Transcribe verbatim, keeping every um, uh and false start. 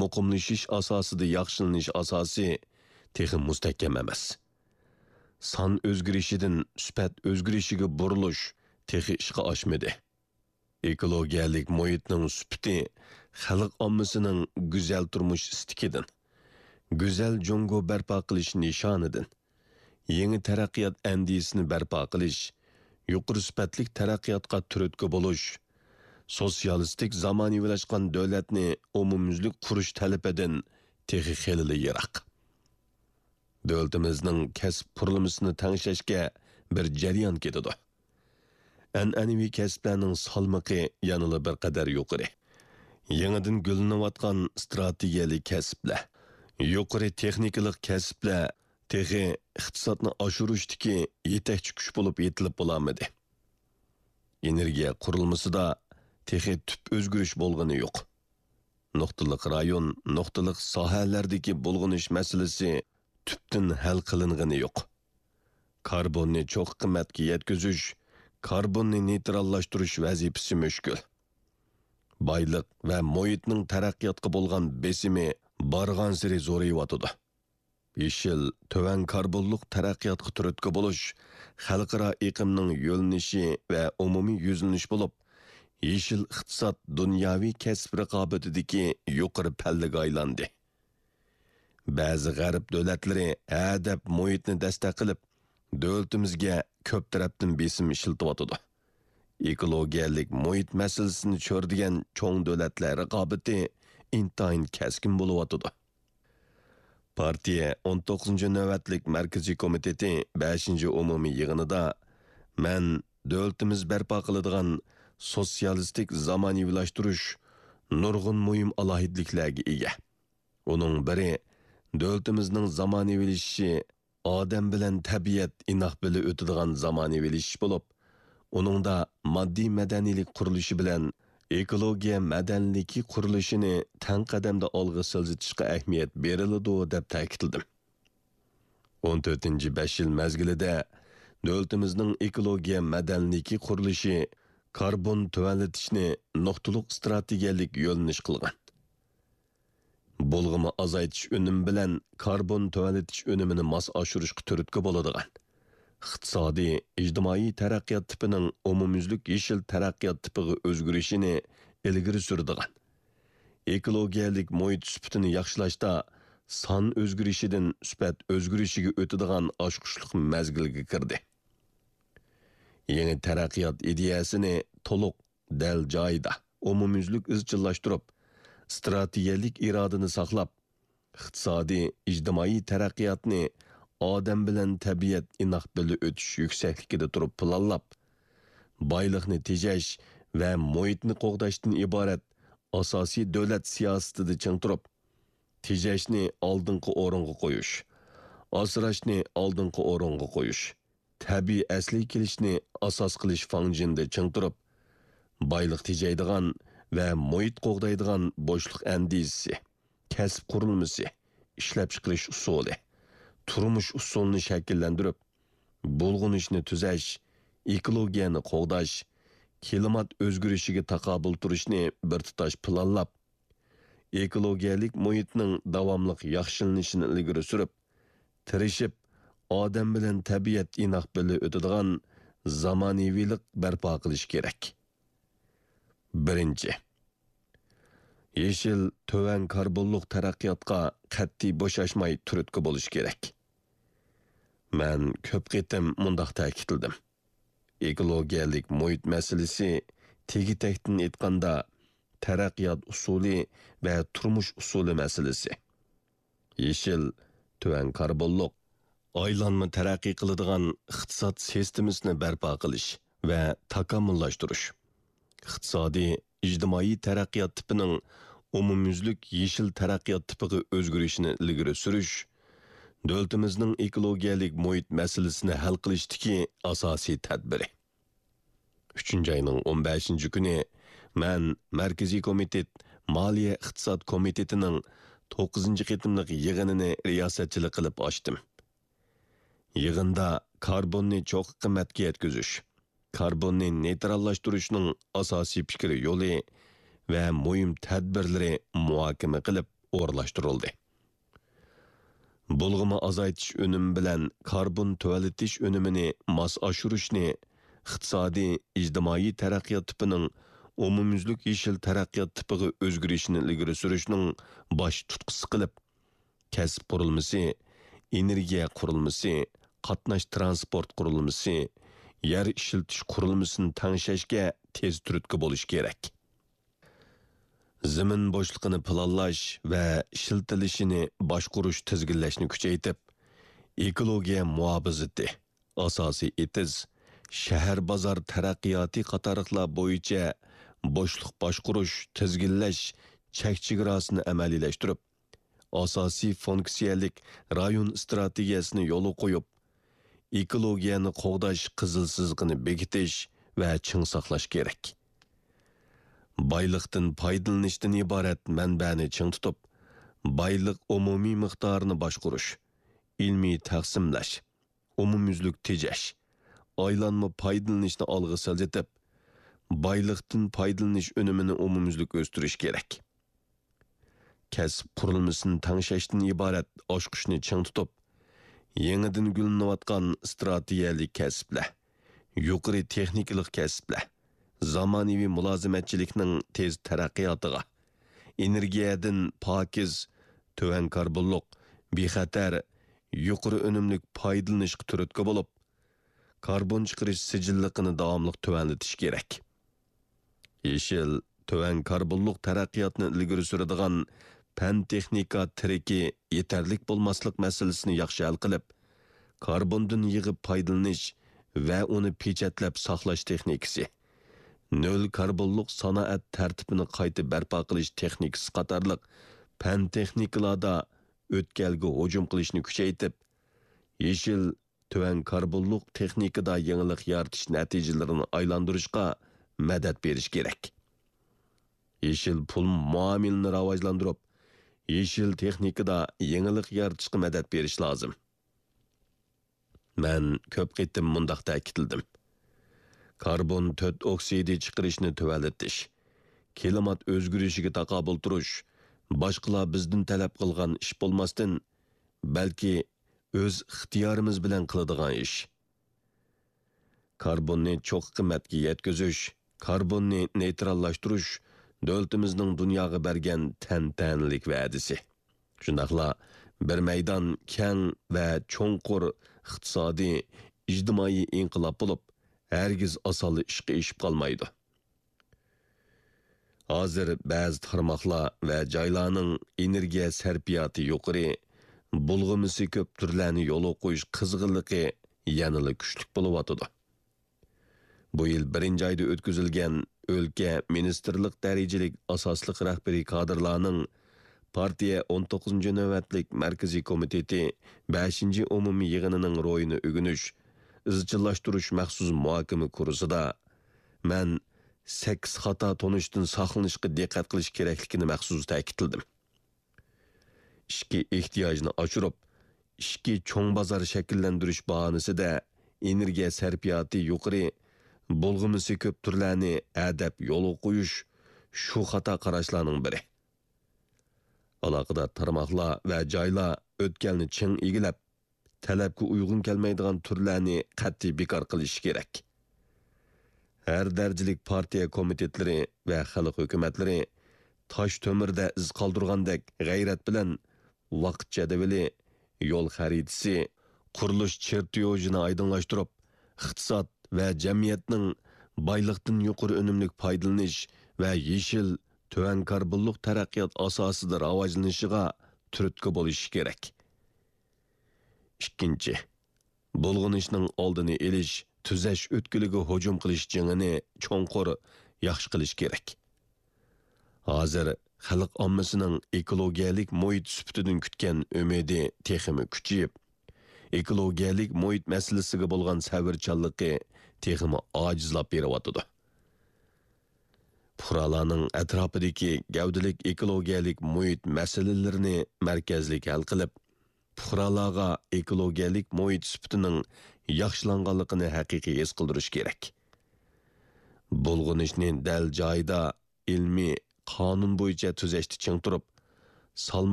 مۇقىملىشىش ئاساسىدا ياخشىلىنىش ئاساسى تېخى مۇستەھكەم ئەمەس. سان ئۆزگىرىشىدىن سۈپەت ئۆزگىرىشىگە بۇرۇلۇش تېخى ئىشقا ئاشمىدى. ئېكولوگىيەلىك مۇھىتنىڭ سۈپىتى خەلق ئاممىسىنىڭ گۈزەل تۇرمۇش ئىستىكىدىن، گۈزەل جۇڭگو بەرپا قىلىش نىشانىدىن، يېڭى تەرەققىيات ئەندىزىسىنى بەرپا قىلىش، يۇقىرى سۈپەتلىك تەرەققىياتقا تۈرتكە بولۇش، سوتسىيالىستىك زامانىۋىلاشقان دۆلەتنى ئومۇميۈزلۈك قۇرۇش تەلىپىدىن تېخى خېلىلا يىراق. دۆلىتىمىزنىڭ كەسىپ قۇرۇلمىسىنى تەڭشەشكە بىر جەريان كېتىدۇ. ئەنئەنىۋى كەسىپلەرنىڭ سالمىقى يەنىلا بىر قەدەر يۇقىرى. يېڭىدىن گۈللىنىۋاتقان ئىستراتېگىيەلىك كەسىپلەر، يۇقىرى تېخنىكىلىق كەسىپلەر تېخى ئىقتىسادنى ئاشۇرۇشتىكى يېتەكچى كۈچ بولۇپ يېتىلىپ بولالمىدى. ئېنېرگىيە قۇرۇلمىسىدا تېخى تۈپ ئۆزگىرىش بولغىنى يوق. نۇقتىلىق رايون، نۇقتىلىق ساھەلەردىكى بۇلغىنىش مەسىلىسى تۈپتىن ھەل قىلىنغىنى يوق. كاربوننى چوققا قىممەتكە يەتكۈزۈش، كاربوننى نېيتراللاشتۇرۇش ۋەزىپىسى مۈشكۈل. بايلىق ۋە مۇھىتنىڭ تەرەققىياتقا بولغان بېسىمى بارغانسېرى زورىيىۋاتىدۇ. يېشىل، تۆۋەن كاربونلۇق تەرەققىياتقا تۈرتكە بولۇش خەلقئارا ئېقىمنىڭ يۆنىلىشى ۋە ئومۇمىي يۈزلىنىش بولۇپ، يېشىل ئىقتىساد دۇنياۋى كەسىپ رىقابىتىدىكى يۇقىرى پەللىگە ئايلاندى. بەزى غەرب دۆلەتلىرى ھە دەپ مۇھىتنى دەستەك قىلىپ، دۆلىتىمىزگە كۆپ تەرەپتىن بېسىم ئىشلىتىۋاتىدۇ. ئېكولوگىيەلىك مۇھىت مەسىلىسىنى چۆرىدىگەن چوڭ دۆلەتلەر رىقابىتى ئىنتايىن كەسكىن بولۇۋاتىدۇ. پارتىيە ئون توققۇزىنچى نۆۋەتلىك مەركىزىي كومىتېتى بەشىنچى ئومۇمىي يىغىنىدا مەن دۆلىتىمىز بەرپا قىلىدىغان سوتسىيالىستىك زامانىۋىلاشتۇرۇش نۇرغۇن مۇھىم ئالاھىدىلىكلەرگە ئىگە. ئۇنىڭ بىرى، دۆلىتىمىزنىڭ زامانىۋىلىشىشى ئادەم بىلەن تەبىئەت ئىناق بىللە ئۆتىدىغان زامانىۋىلىشىش بولۇپ، ئۇنىڭدا ماددىي مەدەنىيلىك قۇرۇلۇشى بىلەن ئېكولوگىيە مەدەنىيلىكى قۇرۇلۇشىنى تەڭ قەدەمدە ئالغا سىلجىتىشقا ئەھمىيەت بېرىلىدۇ، دەپ تەكىتلىدىم. ئون تۆتىنچى بەش يىل مەزگىلىدە دۆلىتىمىزنىڭ ئېكولوگىيە مەدەنىيلىكى قۇرۇلۇشى كاربون تۆۋەنلىتىشنى نۇقتىلىق ئىستراتېگىيەلىك يۆنىلىش قىلغان. بۇلغىما ئازايتىش ئۈنۈمى بىلەن كاربون تۆۋەنلىتىش ئۈنۈمىنى ماس ئاشۇرۇشقا تۈرتكە بولىدىغان، ئىقتىسادىي، ئىجتىمائىي تەرەققىيات تىپىنىڭ ئومۇميۈزلۈك يېشىل تەرەققىيات تىپىغا ئۆزگىرىشىنى ئىلگىرى سۈرىدىغان، ئېكولوگىيەلىك مۇھىت سۈپىتىنى ياخشىلاشتا سان ئۆزگىرىشىدىن سۈپەت ئۆزگىرىشىگە ئۆتىدىغان ئاچقۇچلۇق مەزگىلگە كىردى. يېڭى تەرەققىيات ئىدىيەسىنى تولۇق، دەل جايىدا، ئومۇميۈزلۈك ئىزچىللاشتۇرۇپ، ئىستراتېگىيەلىك ئىرادىنى ساقلاپ، ئىقتىسادىي، ئىجتىمائىي تەرەققىياتنى ئادەم بىلەن تەبىئەت ئىناق بىللە ئۆتۈش يۈكسەكلىكىدە تۇرۇپ پىلانلاپ، بايلىقنى تېجەش ۋە مۇھىتنى قوغداشتىن ئىبارەت ئاساسىي دۆلەت سىياسىتىدە چىڭ تۇرۇپ، تېجەشنى ئالدىنقى ئورۇنغا قويۇش، ئاسراشنى ئالدىنقى ئورۇنغا قويۇش، تەبىئىي ئەسلىگە كېلىشنى ئاساس قىلىش فاڭجېنىدا چىڭ تۇرۇپ، بايلىق تېجەيدىغان ۋە مۇھىت قوغدايدىغان بوشلۇق ئەندىزىسى، كەسىپ قۇرۇلمىسى، ئىشلەپچىقىرىش ئۇسۇلى، تۇرمۇش ئۇسۇلىنى شەكىللەندۈرۈپ، بۇلغىنىشنى تۈزەش، ئېكولوگىيەنى قوغداش، كىلىمات ئۆزگىرىشىگە تاقابىل تۇرۇشنى بىر تۇتاش پىلانلاپ، ئېكولوگىيەلىك مۇھىتنىڭ داۋاملىق ياخشىلىنىشىنى ئىلگىرى سۈرۈپ، تىرىشىپ، ئادەم بىلەن تەبىئەت ئىناق بىللە ئۆتىدىغان زامانىۋىلىق بەرپا قىلىش كېرەك. بىرىنچى، يېشىل، تۆۋەن كاربونلۇق تەرەققىياتقا قەتئىي بوشاشماي تۈرتكە بولۇش كېرەك. مەن كۆپ قېتىم مۇنداق تەكىتلىدىم. ئېكولوگىيەلىك مۇھىت مەسىلىسى، تېگى-تەكتىن ئېيتقاندا، تەرەققىيات ئۇسۇلى ۋە تۇرمۇش ئۇسۇلى مەسىلىسى. يېشىل، تۆۋەن كاربونلۇق، ئايلانما تەرەققىي قىلىدىغان ئىقتىساد سىستېمىسىنى بەرپا قىلىش ۋە تاكامۇللاشتۇرۇش، ئىقتىسادىي، ئىجتىمائىي تەرەققىيات تىپىنىڭ ئومۇميۈزلۈك يېشىل تەرەققىيات تىپىغا ئۆزگىرىشىنى ئىلگىرى سۈرۈش، دۆلىتىمىزنىڭ ئېكولوگىيەلىك مۇھىت مەسىلىسىنى ھەل قىلىشتىكى ئاساسىي تەدبىرى. ئۈچىنچى ئاينىڭ ئون بەشىنچى كۈنى مەن مەركىزىي كومىتېت مالىيە ئىقتىساد كومىتېتىنىڭ توققۇزىنچى قېتىملىق يىغىنىنى رىياسەتچىلىك قىلىپ ئاچتىم. يىغىندا كاربوننى چوققا قىممەتكە يەتكۈزۈش، كاربوننى نېيتراللاشتۇرۇشنىڭ ئاساسىي پىكىر يولى ۋە مۇھىم تەدبىرلىرى مۇھاكىمە قىلىپ، ئورۇنلاشتۇرۇلدى. بۇلغىما ئازايتىش ئۈنۈمى بىلەن كاربون تۆۋەنلىتىش ئۈنۈمىنى ماس ئاشۇرۇشنى ئىقتىسادىي، ئىجتىمائىي تەرەققىيات تىپىنىڭ ئومۇميۈزلۈك يېشىل تەرەققىيات تىپىغا ئۆزگىرىشىنى ئىلگىرى سۈرۈشنىڭ باش تۇتقىسى قىلىپ، كەسىپ قۇرۇلمىسى، ئېنېرگىيە قۇرۇلمىسى، قاتناش تىرانسپورت قۇرۇلمىسى، يەر ئىشلىتىش قۇرۇلمىسىنى تەڭشەشكە تېز تۈرتكە بولۇش كېرەك. زېمىن بوشلۇقىنى پىلانلاش ۋە ئىشلىتىلىشىنى باشقۇرۇش، تىزگىنلەشنى كۈچەيتىپ، ئېكولوگىيە مۇھاپىزىتى، ئاساسىي ئېتىز، شەھەر بازار تەرەققىياتى قاتارلىقلار بويىچە بوشلۇق باشقۇرۇش، تىزگىنلەش چەك چېگراسىنى ئەمەلىيلەشتۈرۈپ، ئاساسىي فۇنكسىيەلىك رايون ئىستراتېگىيەسىنى يولغا قويۇپ، ئېكولوگىيەنى قوغداش قىزىل سىزىقىنى بېكىتىش ۋە چىڭ ساقلاش كېرەك. بايلىقتىن پايدىلىنىشتىن ئىبارەت مەنبەنى چىڭ تۇتۇپ، بايلىق ئومۇمىي مىقدارىنى باشقۇرۇش، ئىلمىي تەقسىملەش، ئومۇميۈزلۈك تېجەش، ئايلانما پايدىلىنىشنى ئالغا سىلجىتىپ، بايلىقتىن پايدىلىنىش ئۈنۈمىنى ئومۇميۈزلۈك ئۆستۈرۈش كېرەك. كەسىپ قۇرۇلمىسىنى تەڭشەشتىن ئىبارەت ئاچقۇچنى چىڭ تۇتۇپ، يېڭىدىن گۈللىنىۋاتقان ئىستراتېگىيەلىك كەسىپلەر، يۇقىرى تېخنىكىلىق كەسىپلەر، زامانىۋى مۇلازىمەتچىلىكنىڭ تېز تەرەققىياتىغا، ئېنېرگىيەدىن پاكىز، تۆۋەن كاربونلۇق، بىخەتەر، يۇقىرى ئۈنۈملۈك پايدىلىنىشقا تۈرتكە بولۇپ، كاربون چىقىرىش سىجىللىقىنى داۋاملىق تۆۋەنلىتىش كېرەك. يېشىل، تۆۋەن كاربونلۇق تەرەققىياتنى ئىلگىرى سۈرىدىغان پەن-تېخنىكا تىرىكى يېتەرلىك بولماسلىق مەسىلىسىنى ياخشى ھەل قىلىپ، كاربوندىن يىغىپ پايدىلىنىش ۋە ئۇنى پېچەتلەپ ساقلاش تېخنىكىسى، نۆل كاربونلۇق سانائەت تەرتىپىنى قايتا بەرپا قىلىش تېخنىكىسى قاتارلىق پەن-تېخنىكىلاردا ئۆتكەلگە ھۇجۇم قىلىشنى كۈچەيتىپ، يېشىل، تۆۋەن كاربونلۇق تېخنىكىدا يېڭىلىق يارىتىش نەتىجىلىرىنى ئايلاندۇرۇشقا مەدەت بېرىش كېرەك. يېشىل پۇل مۇئامىلىنى راۋاجلاندۇرۇپ، يېشىل تېخنىكىدا يېڭىلىق يارىتىشقا مەدەت بېرىش لازىم. مەن كۆپ قېتىم مۇنداق تەكىتلىدىم: كاربون تۆت ئوكسىدى چىقىرىشنى تۆۋەنلىتىش، كىلىمات ئۆزگىرىشىگە تاقابىل تۇرۇش، باشقىلار بىزدىن تەلەپ قىلغان ئىش بولماستىن، بەلكى ئۆز ئىختىيارىمىز بىلەن قىلىدىغان ئىش. كاربوننى چوققا قىممەتكە يەتكۈزۈش، كاربوننى نېيتراللاشتۇرۇش دۆلىتىمىزنىڭ دۇنياغا بەرگەن تەنتەنىلىك ۋەدىسى. شۇنداقلا بىر مەيدان كەڭ ۋە چوڭقۇر ئىقتىسادىي، ئىجتىمائىي ئىنقىلاب بولۇپ، ھەرگىز ئاسانلا ئىشقا ئېشىپ قالمايدۇ. ھازىر بەزى تارماقلار ۋە جايلارنىڭ ئېنېرگىيە سەرپىياتى يۇقىرى، بۇلغىمىسى كۆپ تۈرلەرنى يولغا قويۇش قىزغىنلىقى يەنىلا كۈچلۈك بولۇۋاتىدۇ. بۇ يىل بىرىنچى ئايدا ئۆتكۈزۈلگەن ئۆلكە، مىنىستىرلىق دەرىجىلىك ئاساسلىق رەھبىرىي كادىرلارنىڭ پارتىيە ئون توققۇزىنچى نۆۋەتلىك مەركىزىي كومىتېتى بەشىنچى ئومۇمىي يىغىنىنىڭ روھىنى ئۆگىنىش، ئىزچىللاشتۇرۇش مەخسۇس مۇھاكىمە كۇرسىدا مەن سەككىز خاتا تونۇشتىن ساقلىنىشقا دىققەت قىلىش كېرەكلىكىنى مەخسۇس تەكىتلىدىم. ئىچكى ئېھتىياجنى ئاشۇرۇپ، ئىچكى چوڭ بازار شەكىللەندۈرۈش باھانىسىدە ئېنېرگىيە سەرپىياتى يۇقىرى، بۇلغىمىسى كۆپ تۈرلەرنى ھەدەپ يولغا قويۇش شۇ خاتا قاراشلارنىڭ بىرى. ئالاقىدار تارماقلار ۋە جايلار ئۆتكەلنى چىڭ ئىگىلەپ، تەلەپكە ئۇيغۇن كەلمەيدىغان تۈرلەرنى قەتئىي بىكار قىلىشى كېرەك. ھەر دەرىجىلىك پارتىيە كومىتېتلىرى ۋە خەلق ھۆكۈمەتلىرى تاش تۆمۈردە ئىز قالدۇرغاندەك غەيرەت بىلەن ۋاقىت جەدۋىلى، يول خەرىتىسى، قۇرۇلۇش چېرتيوژىنى ئايدىڭلاشتۇرۇپ، ئىقتىساد ۋە جەمئىيەتنىڭ بايلىقتىن يۇقىرى ئۈنۈملۈك پايدىلىنىش ۋە يېشىل، تۆۋەن كاربونلۇق تەرەققىيات ئاساسىدا راۋاجلىنىشىغا تۈرتكە بولۇشى كېرەك. ئىككىنچى، بۇلغىنىشنىڭ ئالدىنى ئېلىش، تۈزەش ئۆتكىلىگە ھۇجۇم قىلىش جېڭىنى چوڭقۇر، ياخشى قىلىش كېرەك. ھازىر خەلق ئاممىسىنىڭ ئېكولوگىيەلىك مۇھىت سۈپىتىدىن كۈتكەن ئۈمىدى تېخىمۇ كۈچىيىپ، ئېكولوگىيەلىك مۇھىت مەسىلىسىگە بولغان سەۋرچانلىقى تېخىمۇ ئاجىزلاپ بېرىۋاتىدۇ. پۇقرالارنىڭ ئەتراپىدىكى گەۋدىلىك ئېكولوگىيەلىك مۇھىت مەسىلىلىرىنى مەركەزلىك ھەل قىلىپ، پۇقرالارغا ئېكولوگىيەلىك مۇھىت سۈپىتىنىڭ ياخشىلانغانلىقىنى ھەقىقىي ھېس قىلدۇرۇش كېرەك. بۇلغىنىشنى دەل جايىدا، ئىلمىي، قانۇن بويىچە تۈزەشتە چىڭ تۇرۇپ، سالماق